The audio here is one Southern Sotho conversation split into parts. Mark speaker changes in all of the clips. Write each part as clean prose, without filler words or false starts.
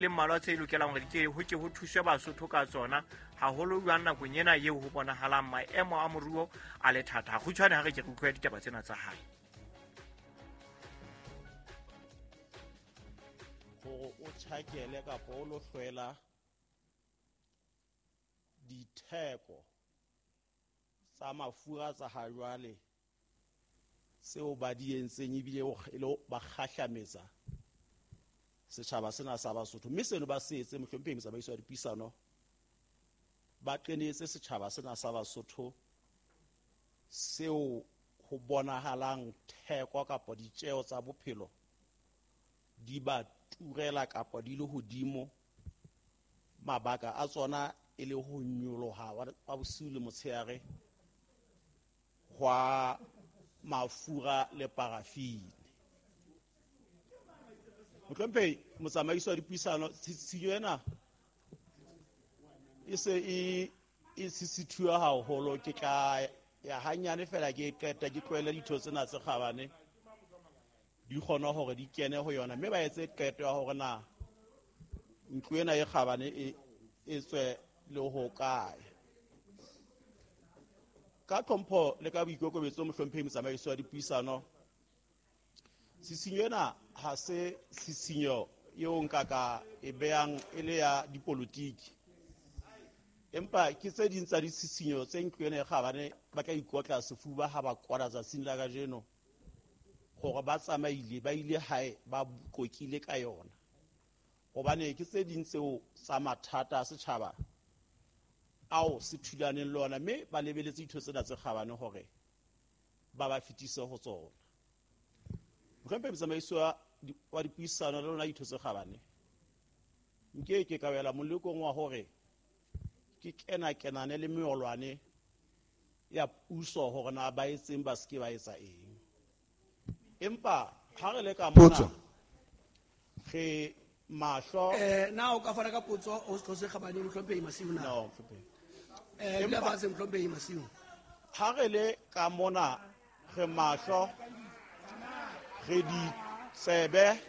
Speaker 1: Le mmalwa tse lokelang hore di ke ho ke ho thuswe Basotho ka tsona, haholo jwang nakong ena eo ho bonahalang maemo a moruo a le thata. Kgutshwane ha re ke re utlwe ditaba tsena tsa hae.
Speaker 2: Hore o tjhakele kapa o lo hlwela ditheko tsa mafura tsa ha jwale tseo ba di entseng ebile e le ba kgahlametsa setjhaba sena sa Basotho, mme seno ba se etse mohlomphehi motsamaisi wa dipuisano, ba qenetse setjhaba sena sa Basotho seo ho bonahalang theko kapa ditjeo tsa bophelo di ba turela kapa di le hodimo, mabaka a tsona e le ho nyoloha wa bosiu le motshehare hwa mafura le parafine. Mohlomphehi motsamaisi wa dipuisano, tshenyo ena e se e sisithuwa haholo. Ke tla ya hanyane fela ke qeta ke tlohele ditho tsena tse kgabane di kgone hore di kene ho yona, mme ba etse qeto ya hore na ntlo ena e kgabane e tswe le ho kae. Ka tlhompho le ka boikokobetso, mohlomphehi motsamaisi wa dipuisano, tshisinyo ena ha se tshisinyo eo nka ka e behang e le ya dipolotiki, empa ke tse ding tsa ditshisinyo tse ntlo ena e kgabane ba tla ikotla sefuba ha ba kwala tsatsing la kajeno hore ba tsamaile ba ile hae ba kokile ka yona, hobane ke tse ding tseo tsa mathata a setjhaba ao se thulaneng le ona, mme ba lebeletse ditho tsena tse kgabane hore ba ba fetise ho tsona. Mohlomphehi motsamaisi wa dipuisano le lona ditho tse kgabane, nke ke ka wela molekong wa hore ke kena-kenane le meolwane ya puso hore na ba etseng ba seke ba etsa eng, empa ha re le ka mona re mahlo.
Speaker 3: Na o ka fana ka potso o setho se kgabane mohlomphehi Masiu na?
Speaker 2: No, mohlomphehi.
Speaker 3: Dula fatshe mohlomphehi Masiu.
Speaker 2: Ha re le ka mona re mahlo, re ditsebe.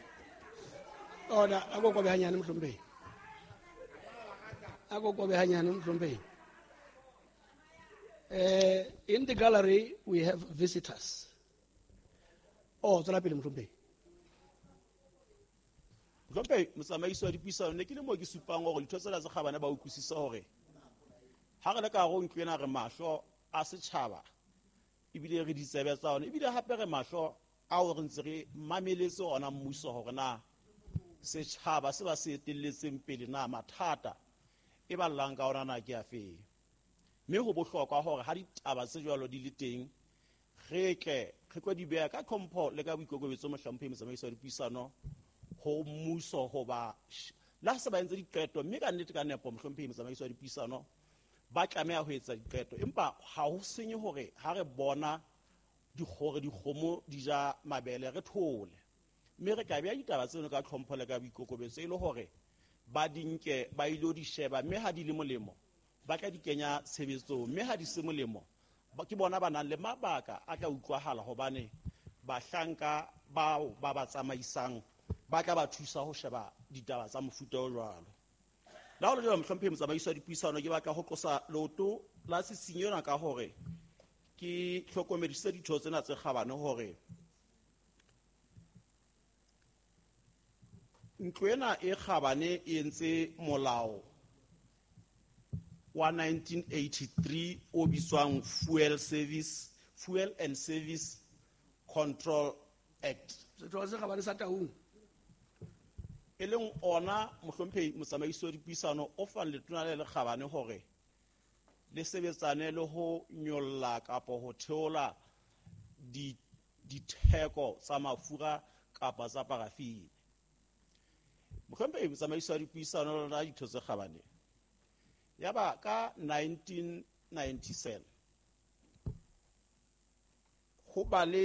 Speaker 3: Ona a ko kobe hanyane mohlomphehi. A ko kobe hanyane mohlomphehi. In the gallery we have visitors. Oh, tswela pele mohlomphehi.
Speaker 2: Mohlomphehi motsamaisi wa dipuisano, ne ke le moo ke supang hore ditho tsena tse kgabane ba utlwisisa hore ha re le ka hare ho ntlo ena re mahlo a setjhaba, ebile re ditsebe tsa ona, ebile hape re mahlo ao re ntse re mameletse ona mmuso hore na setjhaba se ba se etelletseng pele na mathata e ba llang ka ona na ke a feng. Mme ho bohlokwa hore ha ditaba tse jwalo di le teng re tle re tlo di beha ka tlhompho le ka boikokobetso mohlomphehi motsamaisi wa dipuisano ho mmuso, hoba le ha se ba entse diqeto, mme ka nnete ka nepo mohlomphehi motsamaisi wa dipuisano ba tlameha ho etsa diqeto, empa ha ho senye hore ha re bona hore dikgomo di ja mabele re thole, mme re tla beha ditaba tseno ka tlhompho le ka boikokobetso e le hore ba di nke ba ilo di sheba, mme ha di le molemo ba tla di kenya tshebetsong, mme ha di se molemo ke bona ba nang le mabaka a tla utlwahala, hobane bahlanka bao ba ba tsamaisang ba tla ba thusa ho sheba ditaba tsa mofuta o jwalo. Le ha ho le jwalo, mohlomphehi motsamaisi wa dipuisano, ke batla ho tlosa leoto la tshisinyo ena ka hore ke hlokomedise ditho tsena tse kgabane hore ntlo ena e kgabane e entse molao wa 1983 o bitswang Fuel and Service Control Act.
Speaker 3: Setho se kgabane sa Taung.
Speaker 2: E leng ona mohlomphehi motsamaisi wa dipuisano o fang letona le lekgabane hore le sebetsane le ho nyolla kapa ho theola ditheko tsa mafura kapa tsa parafine. Mohlomphehi motsamaisi wa dipuisano lona ditho tse kgabane, yaba ka 1997 ho ba le